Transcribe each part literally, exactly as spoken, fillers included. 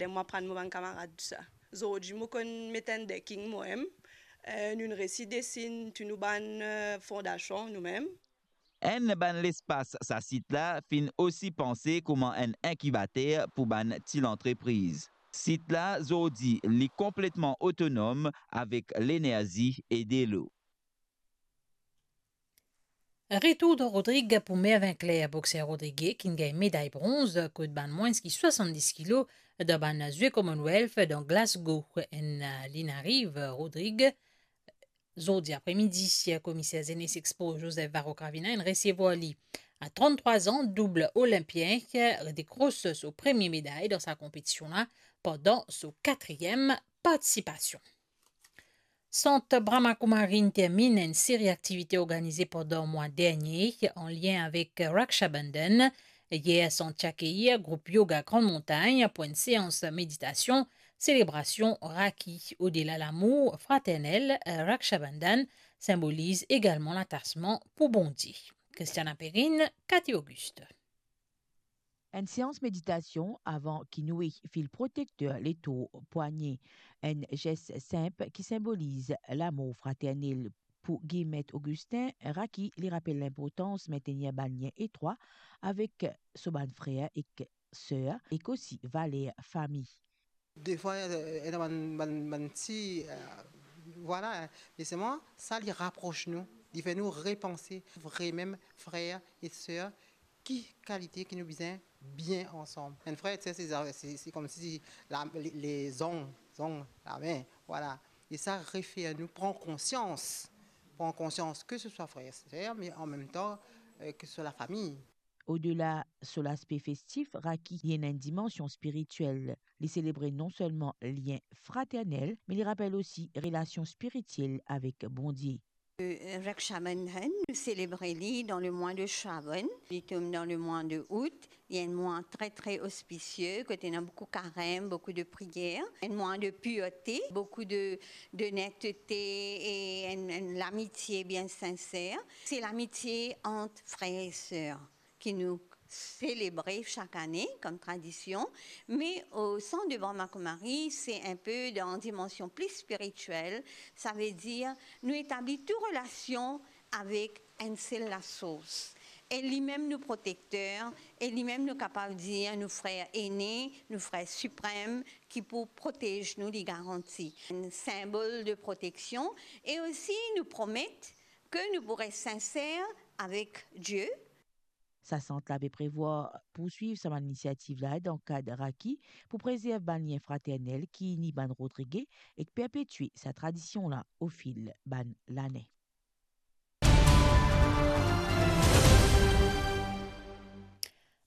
Ler mo aprann mo bann kamarad tousala. Zordi mo konn met enn decking mo mem. Eh, nou'nn resi desin tou nou bann, eh, fondasion nou mem. Enn bann lespas sa sit la finn osi panse kouma enn inkibater pou bann ti lantrepriz. Sit la zordi li konpletman otonom avek lenerzi e delo. Retour dan Rodrig pou Mervin Claire, bokser rodrige ki'nn gagn meday bronz kot bann mwins ki swasanndis kilo dan bann Zwe Commonwealth dan Glasgow. Enn, eh, li'nn ariv Rodrig zordi apremidi, komiser Zenes Expo Joseph Varro Cravina inn resevwar li. A tranntrwa zan, doub olinpien dekros so premie meday dan sa konpetision la pandan so katriem partisipasion. Sant Brahma Kumari inn terminn enn seri aktivite organize pandan mwa dernie an lien avek Raksha Bandhan. Yer, sant ti akeir group yoga Grann Montagn pou enn seans meditasion, selebrasion Rakhi. Odela lamour fraternel, Raksha Bandhan sinboliz egalman latasman pou Bondie. Christiana Perrine, Cathy Auguste. Enn seans meditasion avan ki nou fil protekter letor pwanye, enn zes sinp ki sinboliz lamour fraternel. Pou Guy Maître Augustin, Rakhi li rapel linportans mentenir bann lien etrwa avek so bann frer ek ser, ek osi valer fami. Defwa, eh, ena bann, bann, bann ti, eh, vwala, me selman sa li rapros nou, li fer nou repanse vremem frer e ser, ki kalite ki nou bizin bien ansam. Enn frer e ser, se, se, se koumsi la, le, le zong, zong, lame, vwala. E sa refer nou pran konsians, pran konsians ke se swa frer e ser, me anmemtan, eh, ke se swa lafami. Odela so laspe festif, Rakhi li ena enn dimansion spiritiel. Li selebre non selman lien fraternel, me li rapel osi relasion spiritiel avek Bondie. Euh, Raksha Bandhan, nou selebre li dan lemwa de Shravan, li tom dan lemwa de Out. Li enn mwa tre, tre ospisie, kot ena boukou karem, boukou de priyer, enn mwa de pirte, boukou de, de netete e enn, enn lamitie bien sinser. Se lamitie ant frer e ser ki nou selebre sak ane kom tradision, me o Sant de Brahma Kumari, se inpe dan dimansion pli spiritiel, savedir nou etabli tou relasion avek enn sel lasours. E limem nou protekter, e limem nou kapav dir nou frer ene, nou frer siprem, ki pou protez nou, li garanti. Enn sinbol de proteksion, e osi nou promet ke nou pou res sinser avek Die. Sa sant la pe prevwar pourswiv sa bann inisiativ la dan kad Rakhi pou prezerv bann lien fraternel ki ini bann Rodrige ek perpetie sa tradision la ofil bann lane.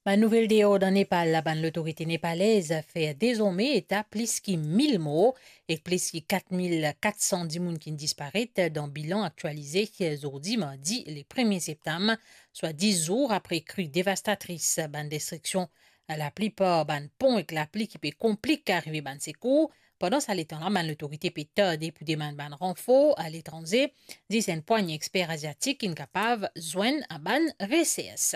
Bann nouvel deor dan Nepal la, bann lotorite nepalez fer dezorme eta plis ki mil mor ek plis ki kat mil kat san dimoun ki'nn disparet dan bilan aktialize zordi mardi le premie septam, swa dis zour apre kri devastatris, bann destriksion laplipar bann pon ek lapli ki pe konplik arive bann sekour. Pandan sa letan la, bann lotorite pe tarde pou demann bann ranfor aletranze, zis enn pwagne exper aziatik ki'nn kapav zwenn a bann resers.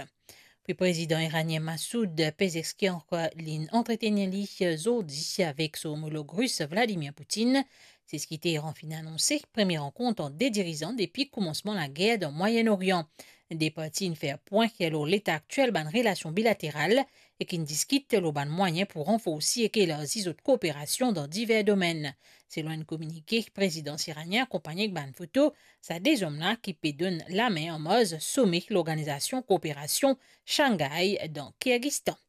Pre prezidan iranien Massoud Pezeshkian li'nn antretenir li zordi avek so omolog ris Vladimir Poutine. Se seki Teheran finn anonse, premie rankont ant de dirizan depi koumansman lager dan Mwayen Orian. De parti inn fer pwin lor leta aktiel bann relasion bilateral ek inn diskit lor bann mwayin pou ranforsi ek elarzi zot kooperasion dan diver domenn. Selon enn kominike, prezidans iranien akonpagne ek bann foto sa de zom la ki pe donn lame an marz some Lorganizasion Kooperasion Shanghai dan Kirgizistan.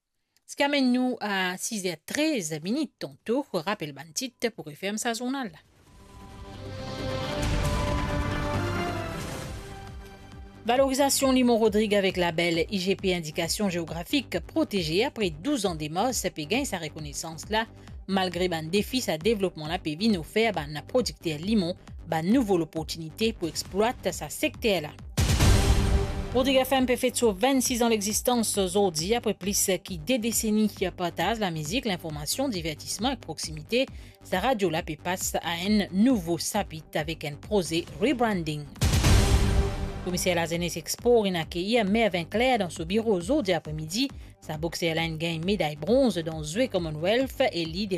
Sa ki amenn nou a siz er trez minit. Tanto, rapel bann tit pou referm sa zournal la. Valorizasion limon Rodrig avek label I G P Indikasion Zeografik Proteze apre douz an demars pe gagn sa rekonesans la. Malgre bann defi, sa devlopman la pe vinn ofer bann prodikter limon bann nouvo loportinite pou explwat sa sekter la. Rodrig F M pe fet so vennsis an lexistans zordi, apre plis ki de deseni partaz lamizik, linformasion, divertisman ek proksimite. Sa radio la pe pas a enn nouvo sapit avek enn proze rebranding. Komiser Lazenes ek Spor inn akeir Mervin Claire dan so biro zordi apremidi. Sa bokser la inn gagn meday bronz dan Zwe Commonwealth e li